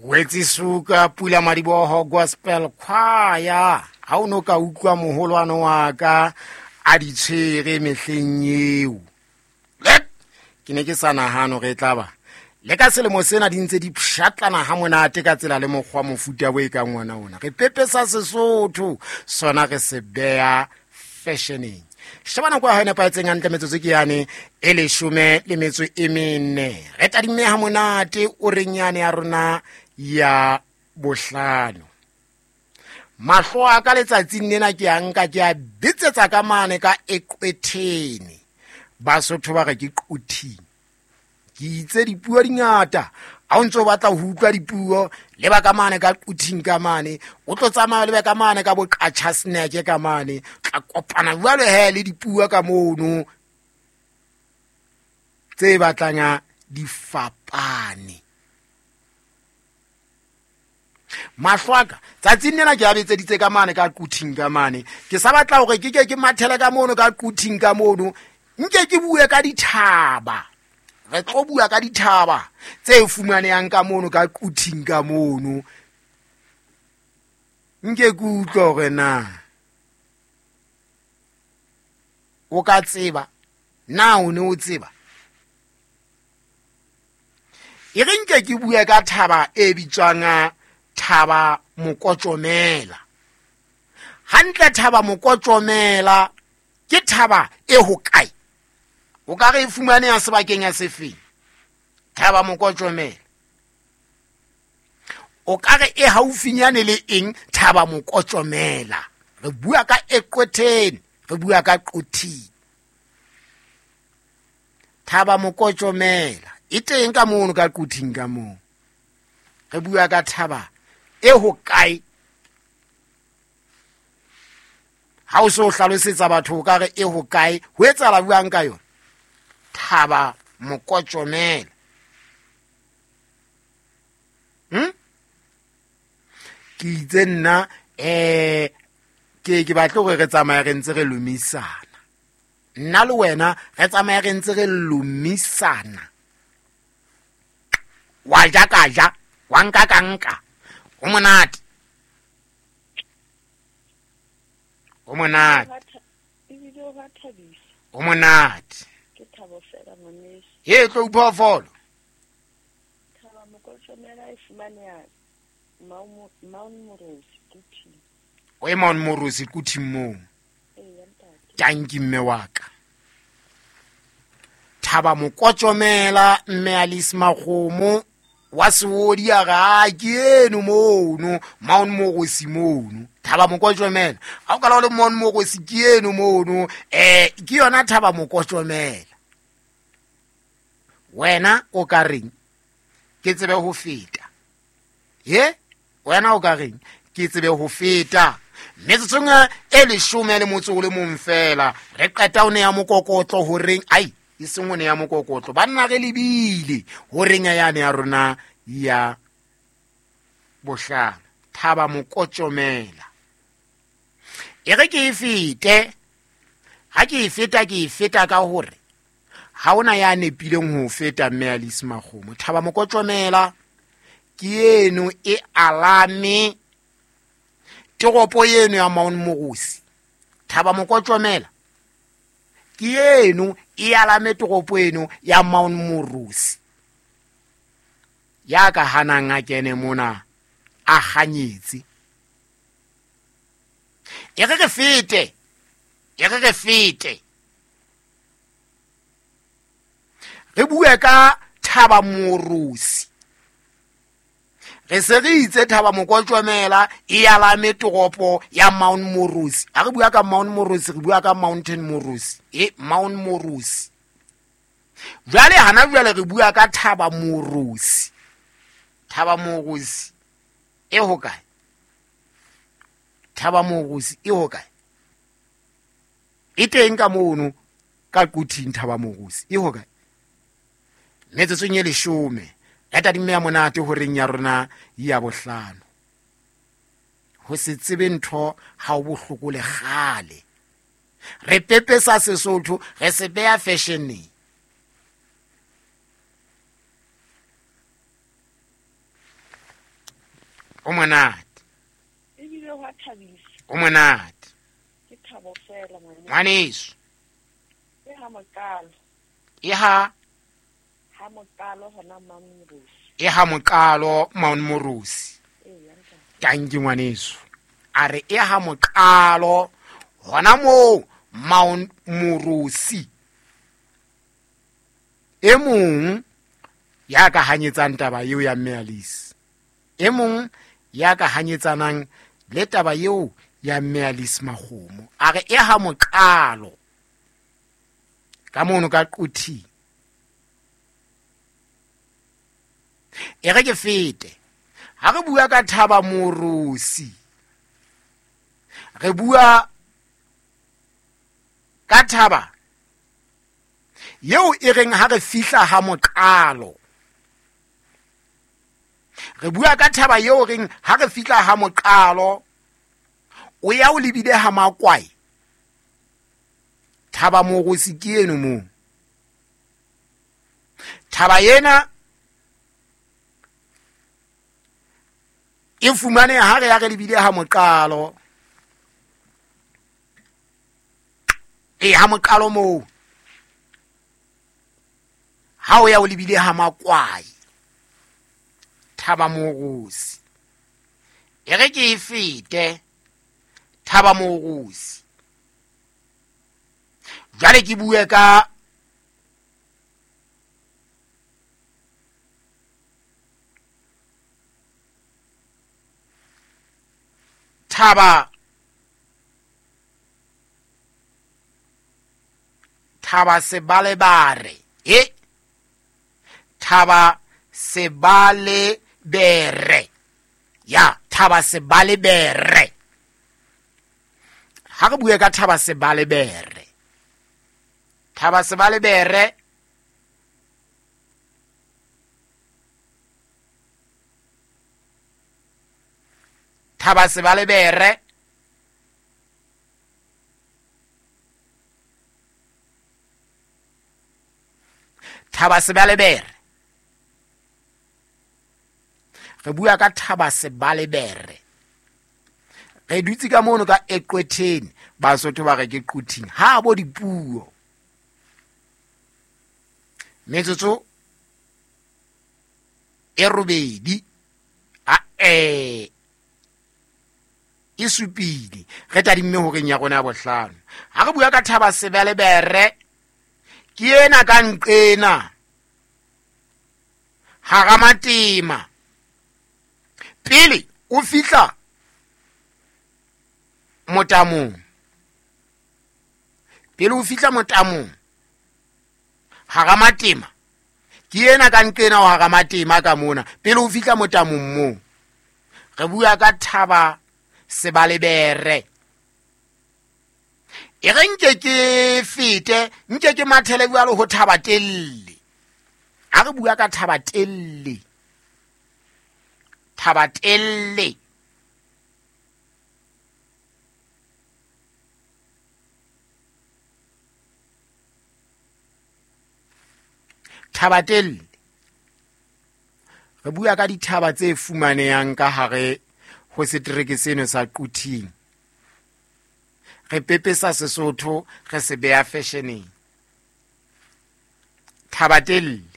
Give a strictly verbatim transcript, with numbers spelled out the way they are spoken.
Wetsisuka Pula Madiboho Gospel Choir. Ha o no ka utlwa moholwane wa ka a di tshwere mehleng eo. Ke ne ke sa nahane hore e tla ba le ka selemo sena di ntse di pshatlana ha monate ka tsela le mokgwa mofuta bo e kang ona ona. Re pepesa Sesotho sona re se beha fashioneng. Sheba nako ya hao e nepahetseng hantle metsotso ke yane e leshome le metso e mene. Re tadimme ha monate o reng yane ya rona ya bohlano. Mahlo a ka letsatsing lena ke a nka ke a bitsetsa ka mane ka Eqwetheni. Basotho ba re ke Quthing. Ke itse dipuo di ngata. Ha o ntso batla ho utlwa dipuo le ba ka mane ka Quthing ka mane, o tlo tsamaya le ba ka mane ka boqatjha snack ka mane, tla kopana jwalo he le dipuo ka mono tse batlang di fapane. Mahlo a ka tsatsing lena ke a betseditse ka mane ka Quthing ka mane. Ke sa batla hore ke ke ke mathele ka mono ka Quthing ka mono, nke ke bue ka dithaba. Re tlo bua ka dithaba tse fumanehang ka mono ka Quthing ka mono. Nke ke utlwe hore na o ka tseba, na o ne o tseba. E re nke ke bue ka thaba e bitswang Thaba Mokotjomela. Hantle Thaba Mokotjomela ke thaba e hokae? O ka re e fumaneha sebakeng ya sefeng? Thaba Mokotjomela. O ka re e haufinyane le eng Thaba Mokotjomela? Re bua ka Eqwetheni, re bua ka Quthing. Thaba Mokotjomela e teng ka mono ka Quthing ka moo. Re bua ka thaba e hokae? Ha o so hlalosetsa batho o ka re e hokae, ho etsahala buang ka yona? Thaba Mokotjomela. Hm? Ke itse nna eh ke ke batle hore re tsamaye re ntse re lomisana. Nna le wena re tsamaye re ntse re lomisana. Wa ja ka ja, wa nka ka nka. Ho monate. Ho monate. Ebile o ba thabisa. Ho monate. Ke thabo fela ngwaneso. He tlo phoofolo. Thaba Mokotjomela e fumaneha Mount Moorosi Quthing. O e Mount Moorosi Quthing moo. Ee, ntate. Tanki mme wa ka. Thaba Mokotjomela mme Alice Makgomo wa Seodi a re a ke eno mono Mount Moorosi mono. Thaba Mokotjomela. Ha o ka la le Mount Moorosi ke eno mono, eh ke yona Thaba Mokotjomela. Wena o ka reng ke tsebe ho feta? He? Wena o ka reng ke tsebe ho feta? Metsotsong e leshome le motso o le mong fela re qeta o ne ya mokokotlo horeng ai e seng o ne ya mokokotlo banna re lebile horeng ya yane ya rona ya bohlano. Thaba Mokotjomela. E re ke e fete. Ha ke e feta ke e feta ka hore ha ona ya nepileng ho feta mme Alice Makgomo. Thaba Mokotjomela ke eno e alame toropo eno ya Mount Moorosi. Thaba Mokotjomela ke eno e alame toropo eno ya Mount Moorosi. Ya ka hanang a kene mona a kganyetse. E re re fete, e re re fete. Re bue ka Thaba Moorosi. Re se re itse Thaba Mokotjomela e alame toropo ya Mount Moorosi. Ha re bua ka Mount Moorosi re bua ka Mountain Moorosi. E Mount Moorosi. Jwale hana jwale re bua ka Thaba Moorosi. Thaba Moorosi e hokae? Thaba Moorosi e hokae? E teng ka mono ka Quthing Thaba Moorosi e hokae? Metsotsong e leshome ya tadimme ya monate horeng ya rona ya bohlano. Ho se tsebe ntho ha o bohloko le kgale. Re pepesa Sesotho re se beha fashioneng. O monate. Ebile ho a thabisa. O monate. Ke thabo fela ngwaneso. Ngwaneso. E ha mokalo. E ha ha mokalo hona Mount Moorosi. E ha mokalo Mount Moorosi. Eya ntate. Tanki ngwaneso. A re e ha mokalo hona moo Mount Moorosi. E mong ya ka hanyetsang taba eo ya Mme Alice. E mong ya ka hanyetsanang le taba eo ya Mme Alice Makgomo. A re e ha mokalo ka mono ka Quthing. E re ke fete. Ha re bua ka Thaba Moorosi, re bua ka thaba eo e reng ha re fihla ha moqalo. Re bua ka thaba eo reng ha re fihla ha moqalo, o ya o lebile ha Makwai. Thaba Moorosi ke eno moo. Thaba ena e fumane ha re ya re lebile ha moqalo. E ha moqalo moo. Ha o ya o lebile ha Makwai. Thaba Moorosi. E re ke e fete Thaba Moorosi. Jwale ke bue ka Thaba Thaba Sebalebare. E Thaba Sebalebere. Ya Thaba Sebalebere. Ha re bue ka Thaba Sebalebere. Thaba Sebalebere Thaba Sebalebere Thaba Sebalebere. Re bua ka Thaba Sebalebere. Re dutse ka mono ka Eqwetheni, Basotho ba re ke Quthing. Ha bo dipuo. Metsotso e robedi a e e supile re tadimme horeng ya rona ya bohlano. Ha re bua ka Thaba Sebalebere ke ena ka nqena hara matema. Pele o fihla motamong, pele o fihla motamong hara matema, ke ena ka nqena o hara matema ka mona. Pele o fihla motamong moo, re bua ka Thaba Sebalebere. E re nke ke fete, nke ke mathele jwalo ho Thaba Telle. Ha re bua ka Thaba Telle, Thaba Telle Thaba Telle, re bua ka dithaba tse fumanehang ka hare ho setereke seno sa Quthing. Re pepesa Sesotho, re se beha fashioneng. Thaba Telle.